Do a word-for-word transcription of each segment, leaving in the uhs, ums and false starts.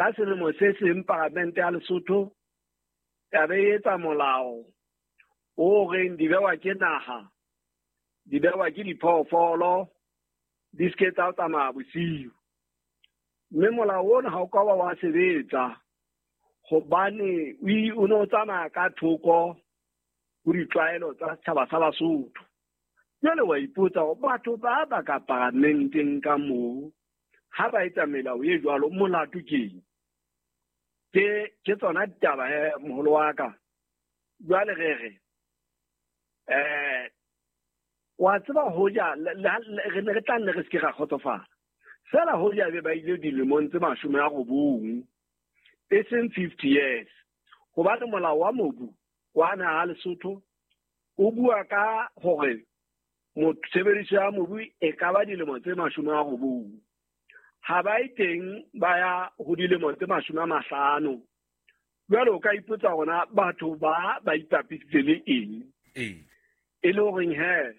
Ka selemo se seng paramente ya Lesotho ya be e etsa molao o reng di bewa ke naha, di bewa ke diphoofolo, di se ke tsa tsamaya bosiu. Mme molao ona ha o ka wa wa sebetsa hobane o ne o tsamaya ka thoko ho ditlwaelo tsa setjhaba sa Basotho. Jwale wa ipotsa hore batho ba ba ka paramenteng ka moo ha ba etsa melao e jwalo molato keng? Ke ke tsona ditaba he moholo wa ka. Jwale re re eh wa tseba hoja re ne re tla nne re se ke ra kgotsofala. Fela hoja be ba ile dilemong tse mashome a robong, e seng fifty years. Hobane molao wa mobu wa naha Lesotho o bua ka hore tshebediso ya mobu e ka ba dilemo tse mashome a robong. Ha ba e teng ba ya ho dilemo tse mashome a mahlano. Jwale o ka ipotsa hore batho ba ba ipapisitse le eng? Ee. E le horeng he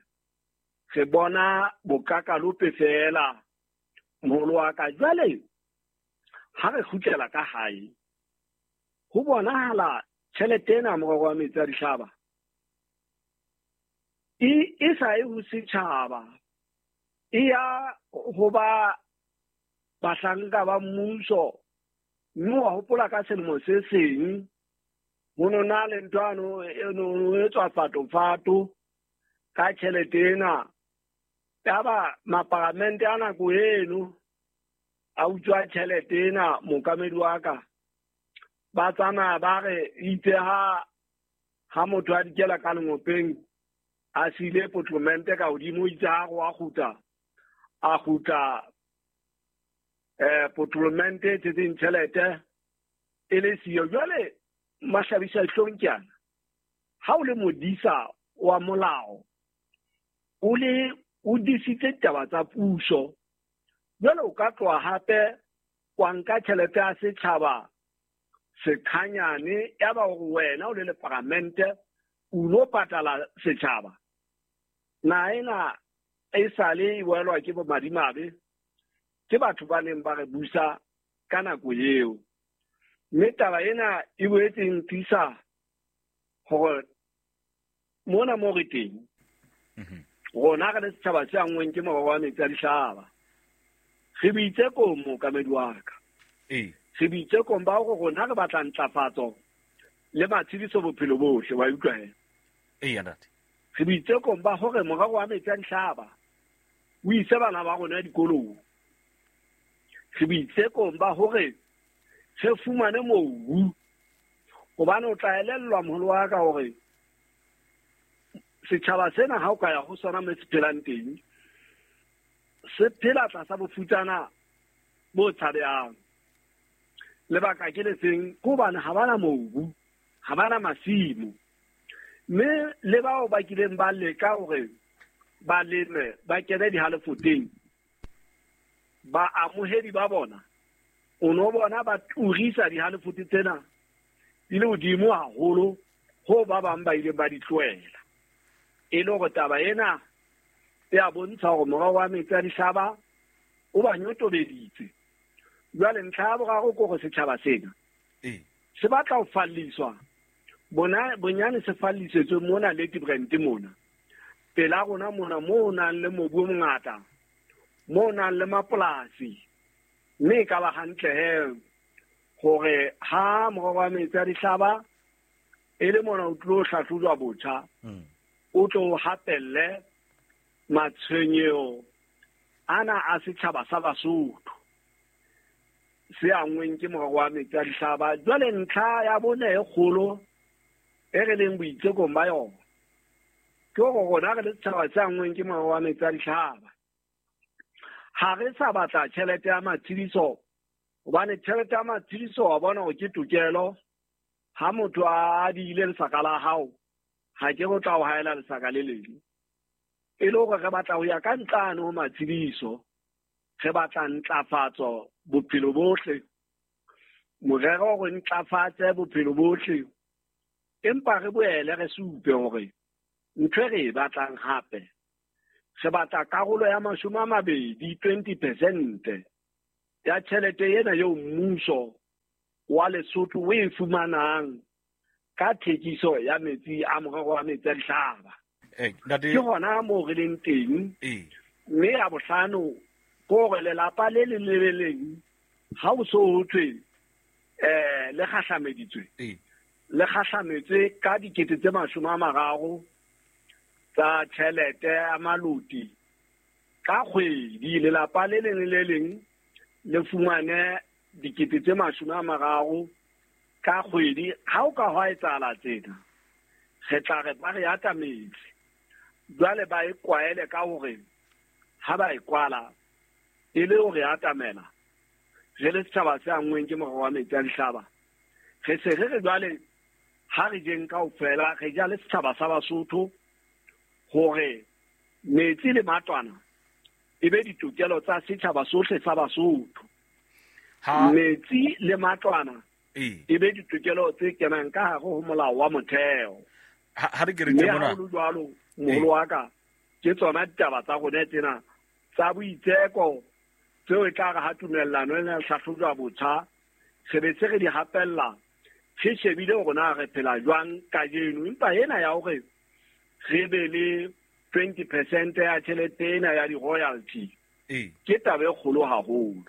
re bona bokakalope fela moholo wa ka. Jwale ha re kgutlela ka hae ho bonahala tjhelete ena morero wa metsi a dihlaba e e sa ye ho setjhaba, e ya ho ba bahlanka ba mmuso. Mme wa hopola ka selemo se seng ho no na le ntho ano e no etswa fato-fato ka tjhelete ena. Yaba maparamente a nako eno a utswa tjhelete ena mookamedi wa ka. Ba tsamaya ba re itse ha ha motho a dikela ka lengopeng a siile potlomente ka hodimo, itse ha re wa kgutla a kgutla eh potlomente e tshetseng tjhelete e le siyo. Jwale mahlabisa dihlong ke ana, ha o le modisa wa molao o le o disitse ditaba tsa puso, jwale o ka tloha hape wa nka tjhelete ya setjhaba sekhanyane, ya ba hore wena o le le paramente o lo patala setjhaba. Naha ena e sale e welwa ke bomadimabe ke batho ba neng ba re busa ka nako eo. Mme taba ena e boetse e ntisa hore mona mo re teng rona re le setjhaba se anngweng ke morero wa metsi a dihlaba, re boitsekong mookamedi wa ka. Ee. Re boitsekong ba hore rona re batla ntlafatso le matshediso bophelo bohle, wa utlwa he? Ee, ntate. Re boitsekong ba hore morero wa metsi a dihlaba o ise bana ba rona dikolong. Re boitsekong ba hore re fumane mobu, hobane o tla elellwa moholo wa ka hore setjhaba sena ha o ka ya ho sona mo se phelang teng, se phela tlasa bofutsana bo tshabehang. Lebaka ke le seng, ke hobane ha bana mobu, ha bana masimo. Mme le bao ba kileng ba leka hore ba leme, ba kene dihalefoteng, ba amohedi ba bona o no bona ba turisa dihalefote tsena di le hodimo haholo ho ba bang ba ileng ba di tlohela. E le hore taba ena e a bontsha hore morero wa metsi a dihlaba o ba nyotobeditse. Jwale ntlha ya boraro ke hore setjhaba sena Ee. se batla ho falliswa. Bona bonyane se fallisetswe mona Ladybrand mona pela rona mona moo ho nang le mobu o mongata, moo ho nang le mapolasi. Mme e ka ba hantle he hore ha morero wa metsi a dihlaba e le mona o tlo hlahlojwa botjha, o tlo hapelle matshwenyeho ana a setjhaba sa Basotho se anngweng ke morero wa metsi a dihlaba. Jwale ntlha ya bone e kgolo e re leng boitsekong ba yona ke hore rona re le setjhaba se anngweng ke morero wa metsi a dihlaba ha re sa batla tjhelete ya matshediso, hobane tjhelete ya matshediso wa bona hore ke tokelo. Ha motho a adile lesaka la hao, ha ke go tla o haela lesaka le leng. E le hore re batla ho ya ka ntlane ho matshediso, re batla ntlafatso bophelo bohle. Morero o re ntlafatse bophelo bohle, empa re boele re supe hore ntho e re e batlang hape, re batla karolo ya mashome a mabedi, twenty percent ya tjhelete ena eo mmuso wa Lesotho o e fumanang ka thekiso ya metsi a morero wa metsi a dihlaba. Ke hona moo re leng teng. Mme ya bohlano ke hore lelapa le leng le le leng ha o so ho thwe eh le kgahlameditswe, le kgahlametswe ka dikete tse mashome a mararo tsa tjhelete ya maloti ka kgwedi. Lelapa le leng le leng le fumane dikete tse mashome a mararo ka kgwedi. Ha o ka hwa etsahala tsena, re tla re ba re atametse. Jwale ba e kwaele ka hore ha ba e kwala e le hore atamela re le setjhaba se anngweng ke morero wa metsi a dihlaba, re se re re jwale ha re jeng kaofela, re ja le setjhaba sa Basotho hore metsi le matlwana e be ditokelo tsa setjhaba sohle sa Basotho. Metsi le matlwana e be ditokelo tse kenang ka hare ho molao wa motheo. Ha re ke re tjena jwalo moholo wa ka, ke tsona ditaba tsa rona tsena tsa boitseko tseo e tla re ha tumellano ena e hlahlojwa botjha, re be se re di hapella, re shebile hore na re phela jwang kajeno. Empa ena ya hore re be le twenty percent ya tjhelete ena ya di-royalty ke taba e kgolo haholo.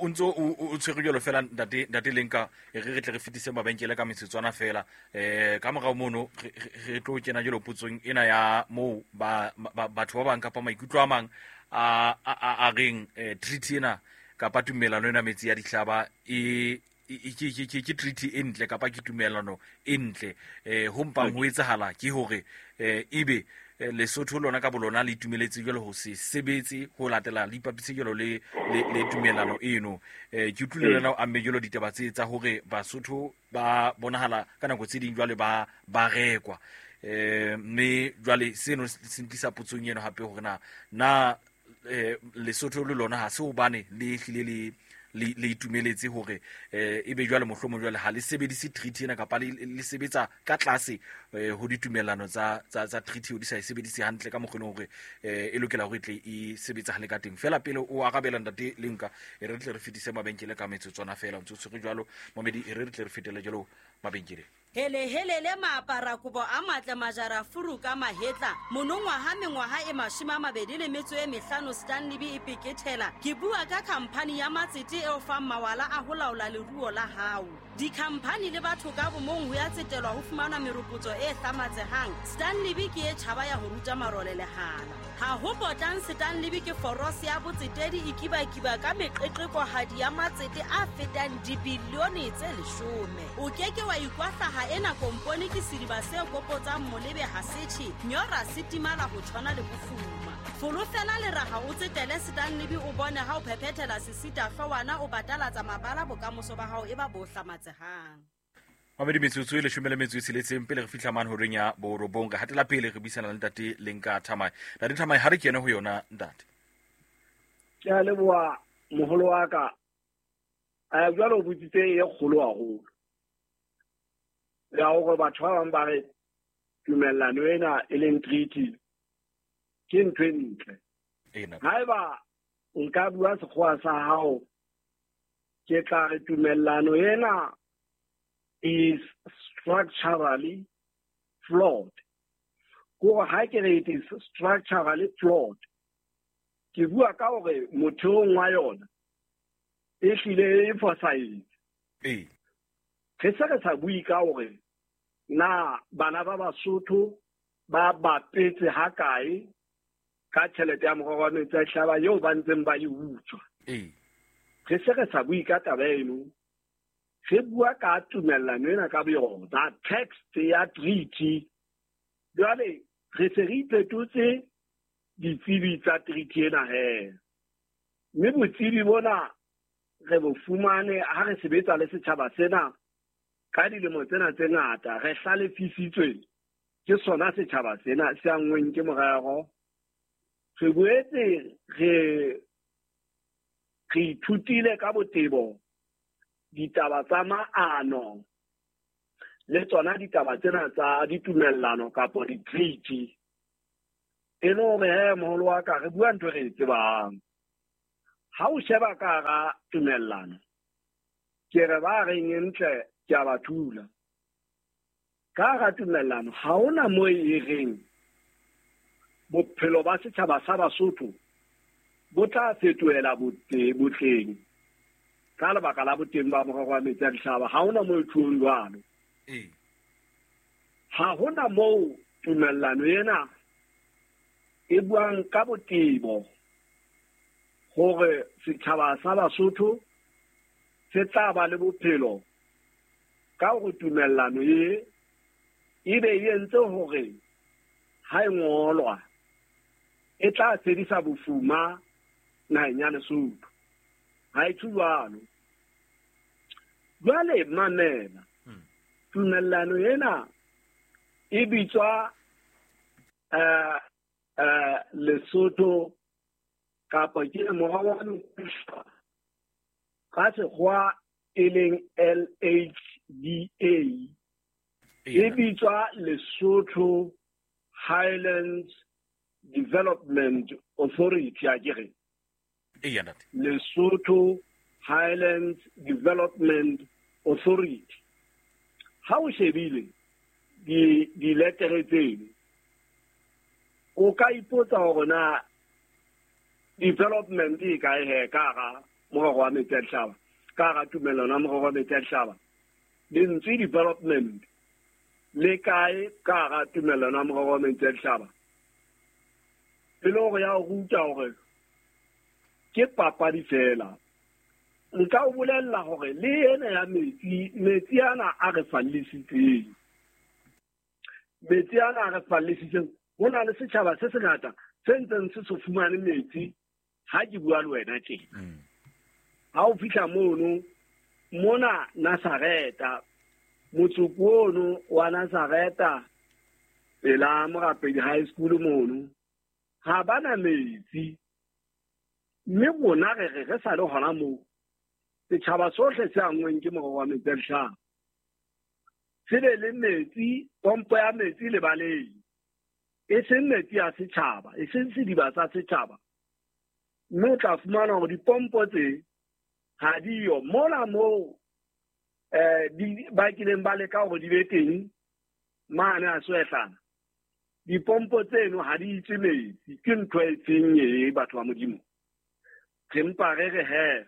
O ntso o tshwere jwalo fela ntate ntate Lenka, re re tle re fetise mabenkele ka metsotswana fela. Eh ka morao mono re tlo kena jwalo potsong ena ya moo ba batho ba bang kapa maikutlo a mang a a reng treaty ena kapa tumellano ena metsi ya dihlaba e ke ke treaty e ntle kapa ke tumellano e ntle. Eh ho mpang ho etsahala ke hore ebe Lesotho lona ka bolona le itumeletse jwalo ho se sebetse ho latela le ipapise jwalo le le tumellano eno. Eh ke utlwile lena o amme jwalo ditaba tse tsa hore Basotho ba bonahala ka nako tse ding jwale ba ba rekwa. Eh mme jwale seno se ntlisa potsong eno hape hore na na Lesotho le lona ha se hobane le hlile le le le itumeletse hore eh ebe jwale mohlomong jwale ha le sebedise treaty ena kapa le le sebetsa ka tlase ho ditumellano tsa tsa tsa treaty o di sa e sebedise hantle ka mokgwa hore e lokela hore tle e sebetsa hale ka teng. Fela pele o arabela ntate Lenka, e re tle re fetise mabenkele ka metsotswana fela ntse tshwere jwalo momedi, e re tle re fetele jwalo mabenkele. Hele hele le maapara kobo a matle majara furu ka mahetla monongwaha mengwaha e mashome a mabedi le metso e mehlano Stanley B e pekethela. Ke bua ka khamphani ya matsete e o fang mawala a ho laola leruo la hao. Dikhamphani le batho ka bomong ho ya tsetelwa ho fumana meropotso e hlamatsehang. Stanley B ke e tjhaba ya ho ruta marole lehala. Ha ho potang Stanley B ke forose ya botsetedi e kibakiba ka meqeqekohadi ya matsete a fetang dibilione tse leshome. O keke wa ikwahlaha ena kompone ke sediba se kopotsang molebe ha setjhe nyora setimala ho tshwana le bofuma. Folofela le raha o tsetele Stanley B o bone ha o phephethela sesita hlwana o batalatsa mabala bokamoso ba hao e ba bo hlamatsehang. Mamedi metsotso e leshome le metso e tsheletseng pele re fihla mane horeng ya borobong. Re hatela pele re buisana le ntate Lenka Thamae. Ntate Thamae, ha re kene ho yona ntate. Ke a leboha moholo wa ka. A jwalo o botsitse e kgolo haholo ya hore batho ba bang ba re tumellano ena e leng treaty ke ntho e ntle. Haeba nka bua sekgowa sa hao, ke tla re tumellano ena is structurally flawed. Ko ha ke re it is structurally flawed, ke bua ka hore motheong wa yona e hlile e fosahetse. Ee. Re se re sa bue ka hore na bana ba Basotho ba bapetse hakae ka tjhelete ya morero wa metsi a dihlaba eo ba ntseng ba e utswa. Ee. Re se re sa bue ka taba eno, re bua ka tumellano ena ka boyona, text ya treaty. Jwale re se re iphetotse ditsebi tsa treaty ena he, mme botsebi bona re bo fumane ha re sebetsa le setjhaba sena ka dilemo tsena tse ngata. Re hlalefisitswe ke sona setjhaba sena se anngweng ke morero. Re boetse re re ithutile ka botebo ditaba tsa maano le tsona ditaba tsena tsa ditumellano kapa di-treaty. E le hore he moholo wa ka, re bua ntho e re e tsebang. Ha o sheba ka hara tumellano, ke re ba reng ntle ke a ba thula. Ka hara tumellano ha hona moo e reng bophelo ba setjhaba sa Basotho bo tla fetohela botleng ka lebaka la boteng ba morero wa metsi a dihlaba. Ha hona moo e tjhong jwalo. Ha hona moo tumellano ena e buang ka botebo hore setjhaba sa Basotho se tla ba le bophelo ka hore tumellano e ebe e entse hore ha e ngolwa e tla fedisa bofuma naheng ya Lesotho. Ha e tjho jwalo. Jwale mamela, tumellano ena e bitswa eh eh Lesotho kapa ke morero wa metsi ka sekgowa e leng L H D A, e bitswa Lesotho Highlands Development Authority, a ke re Lesotho Highlands Development Authority. Ha o shebile di diletere tseno, o ka ipotsa hore na development e kae he ka hara morero wa metsi a dihlaba, ka hara tumellano ya morero wa metsi a dihlaba. Lentswe development le kae ka hara tumellano ya morero wa metsi a dihlaba? E le hore ya o ruta hore ke papadi fela. Nka o bolella hore le ena ya metsi, metsi ana a re fallisitseng, metsi ana a re fallisitseng, ho na le setjhaba se sengata se ntseng se so fumane metsi. Ha ke bua le wena tjena, ha o fihla mono mona Nazareta, motsoko ono wa Nazareta pela Morapedi High School mono, ha bana metsi. Mme rona re re re sa le hona moo, setjhaba sohle se anngweng ke morero wa metsi a dihlaba se be le metsi, pompo ya metsi lebaleng, e seng metsi a setjhaba, e seng sediba sa setjhaba. Mme o tla fumana hore dipompo tse ha diyo mola moo eh di ba kileng ba leka hore di be teng mane a Soehlana. Dipompo tseno ha di itse metsi. Ke ntho e feng e batho ba Modimo? Re mpa re re he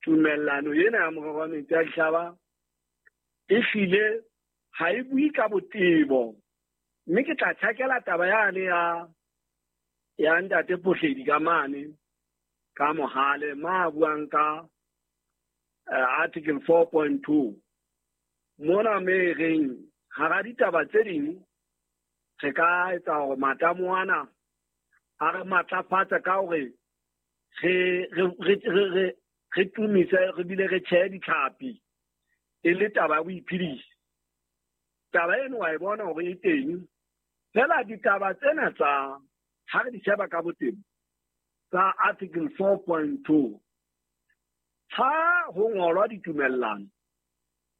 tumellano ena ya morero wa metsi a dihlaba e hlile ha e bue ka botebo. Mme ke tla tjhakela taba yane ya ya ntate Phohledi ka mane ka Mohale ma buang ka uh, article four point two mona me reng hara ditaba tse ding re ka etsa hore matamo ana a re matlafatsa ka hore re re re re tumise re bile re tjhehe ditlhapi e le taba ya boiphediso. Taba eno wa e bona hore e teng fela. Ditaba tsena tsa ha re di sheba ka botebo tsa article four point two, ha ho ngolwa ditumellano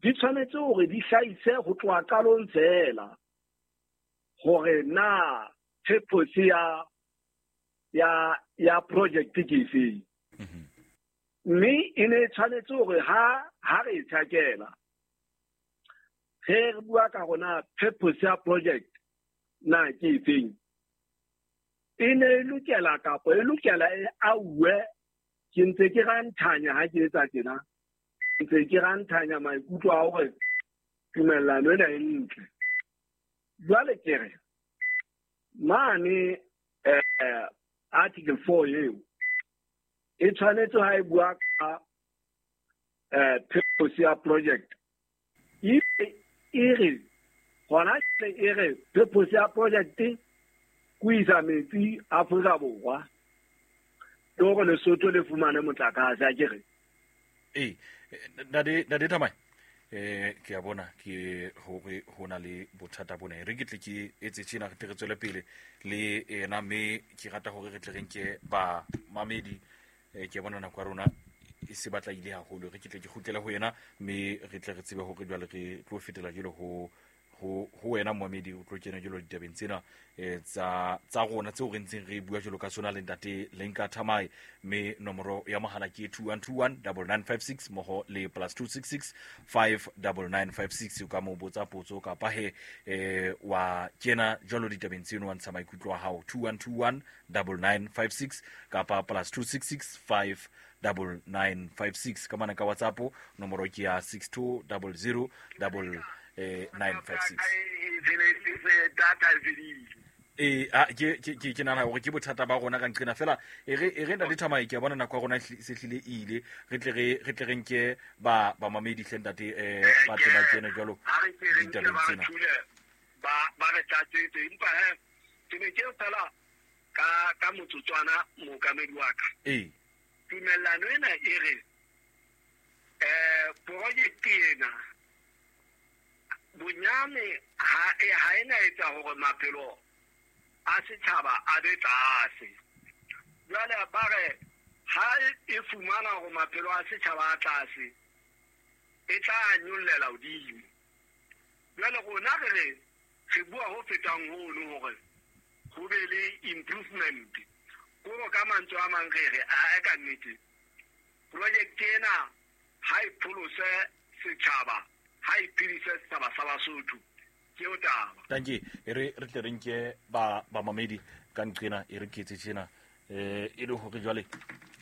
di tshwanetse hore di hlahise ho tloha qalong fela hore na purpose ya ya ya project ke efeng. Mme e ne e tshwanetse hore ha ha re e tjhakela re re bua ka rona purpose ya project na ke efeng, e ne e lokela kapa e lokela e auwe. Ke ntse ke ranthanya ha ke etsa tjena, ntse ke ranthanya maikutlo a hore tumellano ena e ntle. Jwale ke re mane eh, article four eo e tshwanetse ha e bua ka eh, purpose ya project, e re hona e re purpose ya project ke isa metsi Afrika Borwa le hore Lesotho le fumane motlakase, a ke re. Ee, ntate ntate Thamae, eh ke a bona ke hore ho na le bothata bona. Re ke tle ke etse tjena, re tle re tswele pele le ena, mme ke rata hore re tle re nke ba mamedi. Eh ke bona nako ya rona e se batla ile haholo. Re ke tle ke kgutlele ho yena, mme re tle re tsebe hore jwale re tlo fetela jwale ho ho ho wena momedi o tlo kena jalo ditabeng tsena eh tsa tsa rona tseo re ntseng re bua jalo ka sona le ntate Lenka Thamae mme nomoro ya mohala ke two one two one nine nine five six moho le plus two six six five nine nine five six o ka mo botsa potso kapa he eh wa kena jalo ditabeng tseno wa ntsha maikutlo a hao two one two one nine nine five six kapa plus two six six five nine nine five six ka mana ka WhatsApp nomoro ke ya six two zero zero double nine five six eh a ke ke ke nana hore ke bothata ba rona ka nqena fela e re e re ntate Thamae ke a bona nako ya rona se hlile ile re tle re re tle re nke ba ba mamedi hle ntate eh ba tle ba kene jwalo ditabeng tsena ba ba re tlatsetse empa he ke ne ke fela ka ka motsotswana mookamedi wa ka eh tumellano ena e re eh project ena bonyane ha e ha ena etsa hore maphelo a setjhaba a be tlase. Jwale ba re ha e fumana hore maphelo a setjhaba a tlase e tla nyollela hodimo. Jwale rona re re re bua ho fetang hono hore ho be le improvement. Koro ka mantswe a mang re re a ka nnete project ena ha e pholose setjhaba ha e phedise setjhaba sa Basotho. Ke o taba. Thank you. E re re tle re nke ba ba mamedi ka nqena e re ketse tjena eh e le hore jwale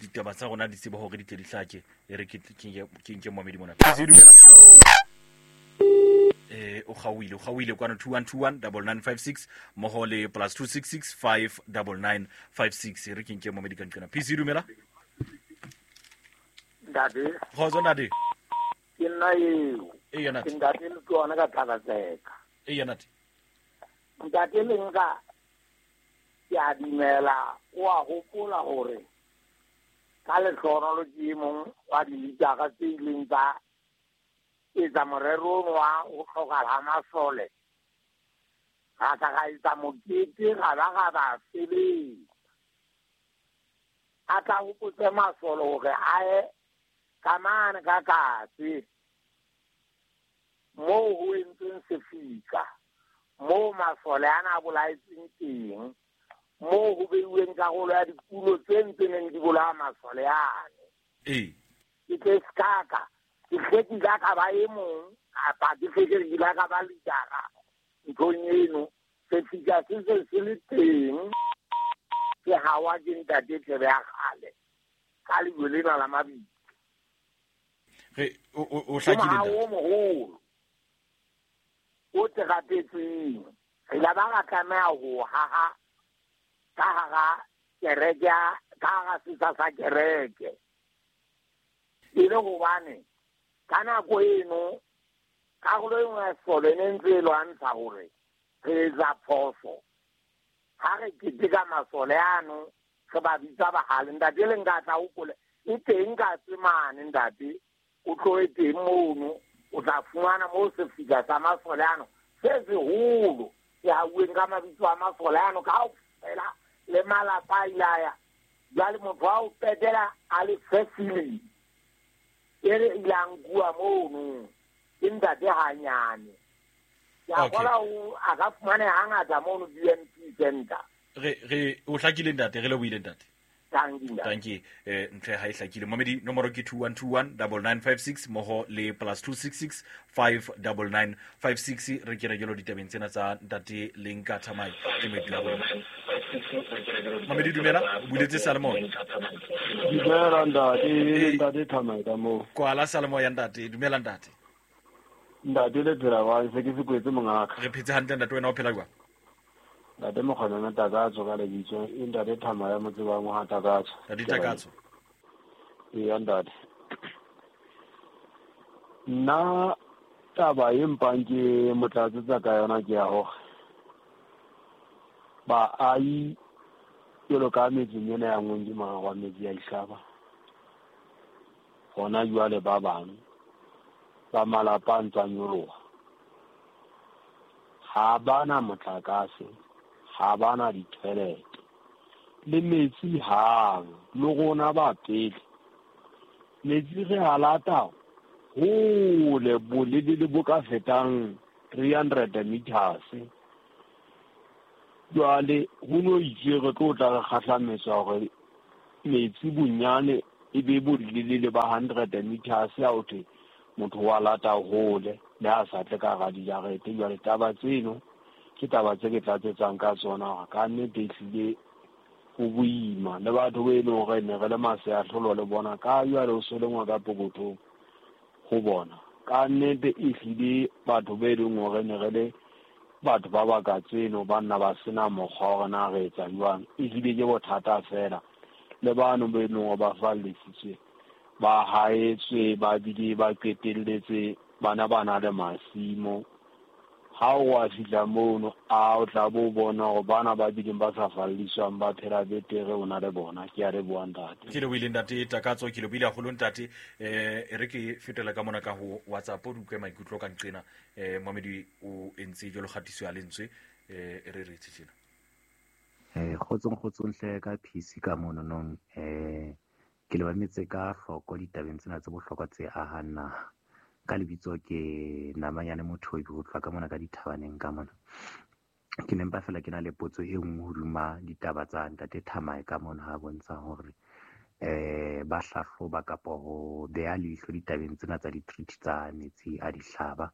ditaba tsa rona di tsebe hore di tle di hlake e re ke ke nke mamedi mona. Ke dumela. Eh o gauile o gauile kwana two one two one nine nine five six moho le plus two six six five nine nine five six e re ke nke mamedi ka nqena. P C dumela. Ntate. Khotso ntate. Ke nna eo. E yona. Ntate le tsona ka thakatseka. E yona. Ntate le nka ke a dumela o a hopola hore ka lehlohonolo ke e mong wa dilitara tse ileng tsa etsa morero ono wa ho hlokahala ha masole. Ra tla ra etsa mokete ra ba ra ba sebetsa. A tla hopotse masole hore a ye ka mane ka katse moo ho entsweng sefika, moo masole ana a bolaetsweng teng, moo ho beuweng karolo ya dikulo tse ntseng di bolaya masole ane. Ee. Ke tle sekaka, ke hle ke ile ka ba e mong kapa ke hle ke ile ka ba litara nthong eno. Sefika se se se le teng ke hawa ke ntate Thebe ya kgale ka lejwe lena la mabitla. Re o o hlakile ntate. O moholo o terapetseng re la ba ra tlameha ho haha ka hara kereke ka hara setsha sa kereke e le hobane ka nako eno karolo e nngwe ya sesole e ne ntse e lwantsha hore re etsa phoso ha re keteka masole ano re ba bitsa bahale. Ntate le nka tla hopole e teng ka tsemane ntate o tlohe teng mono o tla fumana moo sefika sa masole ano se seholo se hauweng ka mabitso a masole ano kaofela le malapa a ile a ya. Jwale motho wa ho qetela a le fefile e re ile a nkuwa mono ke ntate hanyane. Ke a kgola a ka fumaneha hangata mono B M P Center. Re re o hlakile ntate, re lebohile ntate. Thank you. Eh ntle ha e hlakile. Momedi nomoro ke two one two one nine nine five six moho le plus two six six five nine nine five six re kena jalo ditabeng tsena tsa ntate Lenka Thamae ke moeti wa rona. Momedi dumela, o buletse Salomon. Dumela ntate, ntate Thamae ka moo. Kwala Salomon ya ntate, dumela ntate. Ntate le phela wa se ke se kwetse mongaka. Re phetse hantle ntate, wena o phela jwang? Ntate Mokgona Takatso ka lebitso, e ntate Thamae motse wa ngwa Takatso. Ntate Takatso. Ee ntate. Nna taba e mpang ke motlatsetsa ka yona ke ya hore baahi jwalo ka metseng ena ya Ngongi wa metsi ya Ihlaba hona jwale ba bang ba malapa a ntse a nyoloha ha bana motlakase, ha bana ditjhelete le metsi hang le rona ba pele metsi re a lata hole bolelele bo ka fetang three hundred meters. Jwale ho no itse re tlo tla re kgahlametswa hore metsi bonyane e be bolelele ba hundred meters ya ho thwe motho wa lata hole le ha sa tle ka hara dijarete. Jwale taba tseno ke taba tse ke tlatsetsang ka tsona hore ka nnete ehlile ho boima le batho be e leng hore ne re le maseahlolo le bona ka jwale o so lengwa ka pokothong ho bona. Ka nnete ehlile batho be e leng hore ne re le batho ba baka tseno ba nna ba sena mokgwa hore na re etsa jwang, ehlile ke bothata fela. Le bano be e leng hore ba fallisitswe ba haetswe ba bile ba qetelletse bana ba na le masimo. Ha o a fihla mono a o tla bo bona hore bana ba bileng ba sa falliswang ba phela betere o na le bona. Ke a leboha ntate. Ke lebohile ntate Takatso, ke lebohile haholo ntate. Eh e re ke fetela ka mona ka ho WhatsApp o utlwe maikutlo ka nqena. Eh Mohamedi o entse jwalo kgatiso ya lentswe eh e re re tjena. Eh kgotsong kgotsong hle ka P C ka mono nong eh ke le bametse ka hloko ditabeng tsena tse bohlokwa tse ahang naha. Ka lebitso ke Namanyane Mothobi ho tloha ka mona ka dithabaneng ka mona. Ke ne mpa fela ke na le potso e nngwe hodima ditaba tsa ntate Thamae ka mona ha bontsha hore eh ba hlahloba kapa ho beha leihlo ditabeng tsena tsa di-treaty tsa metsi a dihlaba.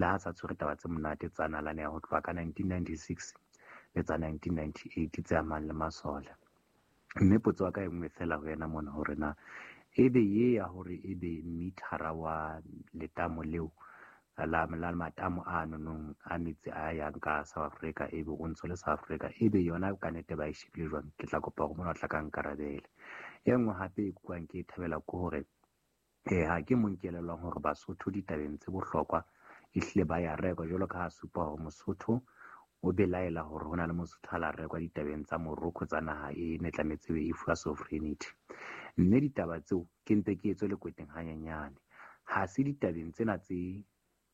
Le ha sa tshwere taba tse monate tsa nalane ya ho tloha ka nineteen ninety-six le tsa nineteen ninety-eight tse amang le masole. Mme potso ya ka e nngwe fela ho yena mona hore na ebe ye ya hore ebe mithara wa letamo leo la la matamo a nonong a metsi a yang ka South Africa ebe o ntso le South Africa ebe yona ka nete ba e shebile jwang? Ke tla kopa hore mona o tla ka nkarabele. E nngwe hape e kuang ke e thabela ke hore eh ha ke mo nkelelwang hore Basotho ditabeng tse bohlokwa ehlile ba ya rekwa jwalo ka ha supa hore Mosotho o belaela hore ho na le Mosotho a la rekwa ditabeng tsa Morocco tsa naha e ne tlametse e fuwa sovereignty. Mme ditaba tseo ke mpe ke etswe lekweteng hanyenyane. Ha se ditabeng tsena tse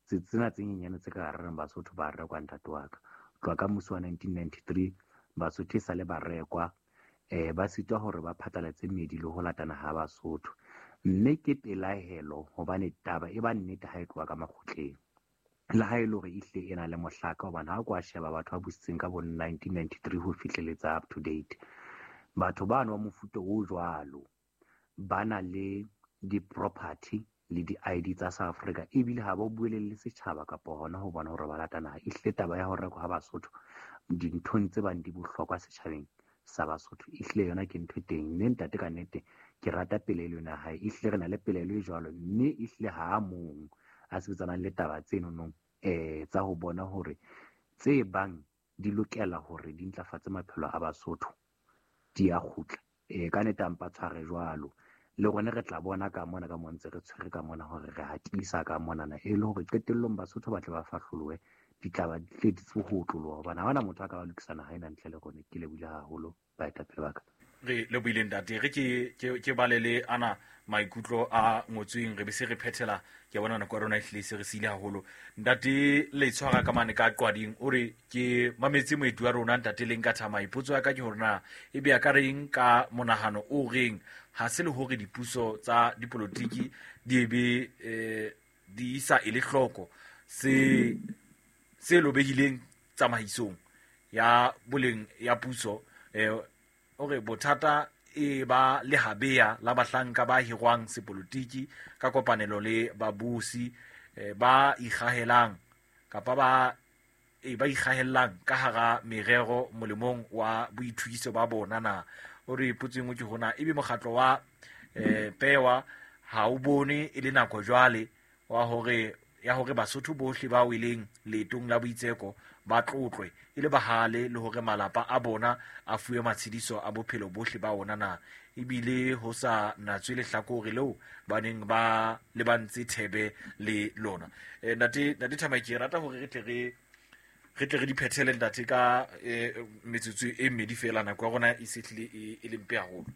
tsena tse nyenyane tse ka reng Basotho ba rekwa ntate wa ka. Tloha ka mmuso wa nineteen ninety-three Basotho e sale ba rekwa eh ba sitwa hore ba phatlalatse meedi le ho latana ha Basotho. Mme ke pelaelo hobane taba e ba nnete ha e tloha ka makgotleng. Le ha e le hore ehlile e na le mohlaka hobane ha o kwa sheba batho ba busitseng ka bo nineteen ninety-three ho fihleletsa up to date. Batho bano ba mofuta o jwalo ba na le di-property le di-I D tsa South Africa ebile ha ba buelele setjhaba kapa hona ho bona hore ba lata naha. Ehlile taba ya ho rekwa ha Basotho dinthong tse bang di bohlokwa setjhabeng sa Basotho ehlile yona ke ntho e teng. Mme ntate ka nnete ke rata pelaelo ena ya hae. Ehlile re na le pelaelo e jwalo mme ehlile ha a mong a sebetsanang le taba tseno nong eh tsa ho bona hore tse bang di lokela hore di ntlafatse maphelo a Basotho di a kgutla. Eh ka nnete a mpa tshware jwalo. Le rona re tla bona ka mona ka mo ntse re tshwere ka mona hore re hatisa ka monana e le hore qetellong Basotho ba tle ba fahlolowe ditlaba di tle di tswe ho otloloha hobane ha hona motho a ka ba lokisa naha ena ntle le rona. Ke lebohile haholo baetapele ba ka. Re lebohile ntate. Re ke ke ke balele ana maikutlo a ngotsweng re be se re phethela. Ke bona nako ya rona e hlile se re siile haholo. Ntate le tshwara ka mane ka Qwading o re ke mametse moeti wa rona ntate Lenka Thamae. Potso ya ka ke hore na ebe ya ka reng ka monahano o reng ha se le hore dipuso tsa dipolotiki di ebe eh, di sa ele hloko se se lobehileng tsamaisong ya boleng ya puso eh ore bothata e ba le habea la bahlanka ba hirwang sepolotiki ka kopanelo le babusi eh, ba ikgahelang kapa ba e ba ikgahellang ka hara merero molemong wa boithukiso ba bona na. O re potso engwe ke hona ebe mokgatlo wa eh, pewa ha o bone e le nako jwale wa hore ya hore Basotho bohle ba weleng leetong la boitseko ba tlotlwe e le bahale le hore malapa a bona a fuwe matshediso a bophelo bohle ba ona na, ebile ho sa natswe lehlakore leo ba neng ba lebantse thebe le lona. Eh, ntate ntate Thamae ke rata hore re tle re re tle re di phethele ntate ka eh, metsotso e mmedi fela, nako ya rona e setlile e, e le mpe haholo.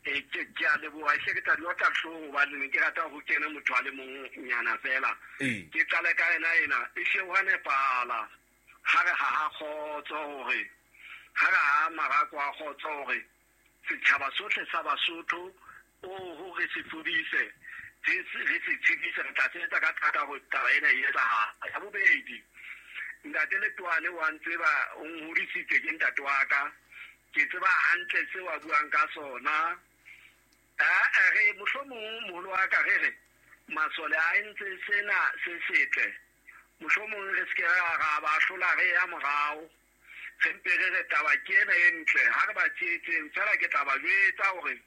E ke ke a leboha e hle ke tla di otla hlooho hobane ne ke rata ho kena motho a le mong nyana fela. Ke qale ka yena ena e hle ho a nepahala ha re ha ha kgotso hore ha re ha marako a kgotso hore setjhaba sohle sa Basotho o hore se fodise re se tshedise re tla sebetsa ka thata hore taba ena e etsahala. Ya bobedi Ntate Letoane wa ntseba o nhodisitse ke ntate wa ka. Ke tseba hantle seo a buang ka sona. A re mohlomong moholo wa ka re re masole a entse sena se setle. Mohlomong re se ke ra ba hlola re ya morao. Re mpe re re taba ke ena e ntle ha re ba tshehetseng fela ke tla ba jwetsa hore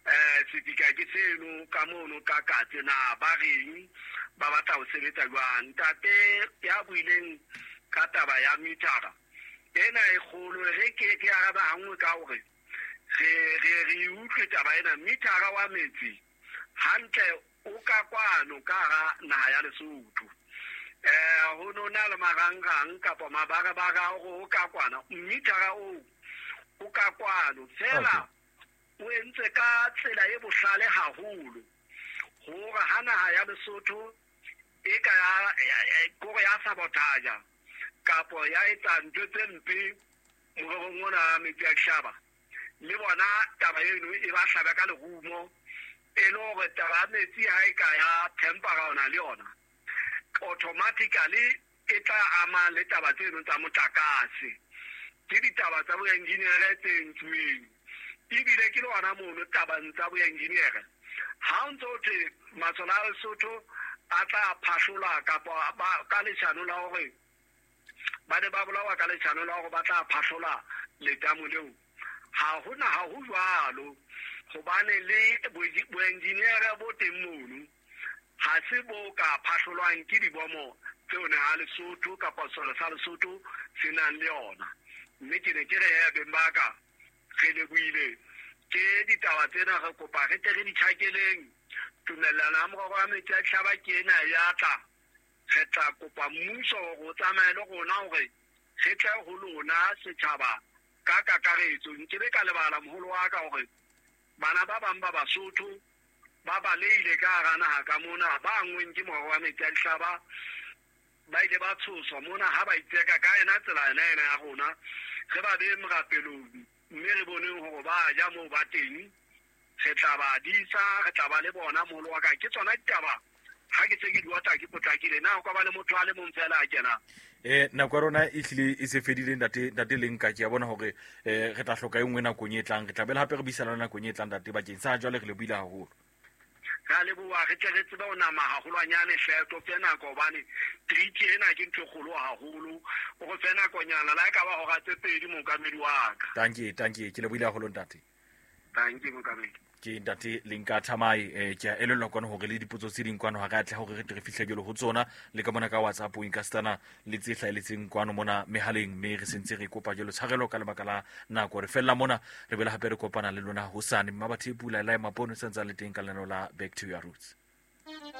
eh sedika ke seno ka mono ka katse na ba reng ba batla ho sebetsa jwang. Ntate ya buileng ka taba ya mitara ena e kgolo re ke ke araba hangwe ka hore re re re utlwe taba ena. Mitara wa metsi hantle o ka kwano ka hara naha ya Lesotho. Eh ho no na le marangrang kapa mabarabara hore o ka kwana mitara o o ka kwano fela o entse ka tsela e bohlale haholo hore ha naha ya Lesotho e ka ya kore ya sabotage kapo ya etsa ntho tse mpe morerong ona wa metsi a dihlaba le bona taba eno e ba hlabe ka lerumo e le hore taba ya metsi ha e ka ya tempera ona le yona automatically e tla ama le taba tseno tsa motlakase. Ke ditaba tsa boengineere tse entsweng ebile ke le ona mono tabang tsa boengineere. Ha o ntso thwe masole a Lesotho a tla phahlola kapa ka leshano la hore ba ne ba bolawa ka leshano la hore ba tla phahlola letamo leo, ha hona ha ho jwalo hobane le boengineere bo teng mono ha se bo ka phahlolwang ke dibomo tseo ne ha Lesotho kapa sole sa Lesotho se nang le yona. Mme ke ne ke re ya beng ba ka re lebohile ke ditaba tsena re kopa re tle re di tjhakeleng. Tumellano ya morero wa metsi a dihlaba ke ena ya tla re tla kopa mmuso hore o tsamaye le rona hore re tle ho lona setjhaba ka kakaretso. Nkebe ka lebala moholo wa ka hore bana ba bang ba Basotho ba balehile ka hara naha ka mona ba angweng ke morero wa metsi a dihlaba ba ile ba tshoswa mona ha ba itseka ka ena tsela ena ena ya rona. Re ba bee morapelong mme re boneng hore ba ja moo ba teng. Re tla ba disa, re tla ba le bona moholo wa ka. Ke tsona ditaba ha ke se ke di otla ke potlakile na ho ka ba le motho a le mong fela a kenang. Eh nako ya rona e hlile e se fedile ntate ntate Lenka. Ke a bona hore eh re tla hloka e nngwe nakong e tlang. Re tla bela hape re buisana le nakong e tlang ntate bakeng sa jwale re le buile haholo. Re a leboha re tle re tsebe ho nama haholwanyane hle to fe nako hobane treaty ena ke ntho e kgolo haholo. O re fe nakonyana la e ka ba hora tse pedi mookamedi wa ka. Tanki tanki ke le buile haholo ntate. Tanki mookamedi. Ke ntate Lenka Thamae. Eh ke a elellwa kwana hore le dipotso tse ding kwano ha re atle hore re tle re fihle jwalo ho tsona le ka mona ka WhatsApp o inkastana le tse hlaheletseng kwano mona mehaleng mme re sentse re kopa jwalo tshwarelo ka lebaka la nako. Re fella mona re bela hape re kopana le lona hosane. Mmabathe Pula la Mapono sentse le teng ka lenaneo la Back to Your Roots.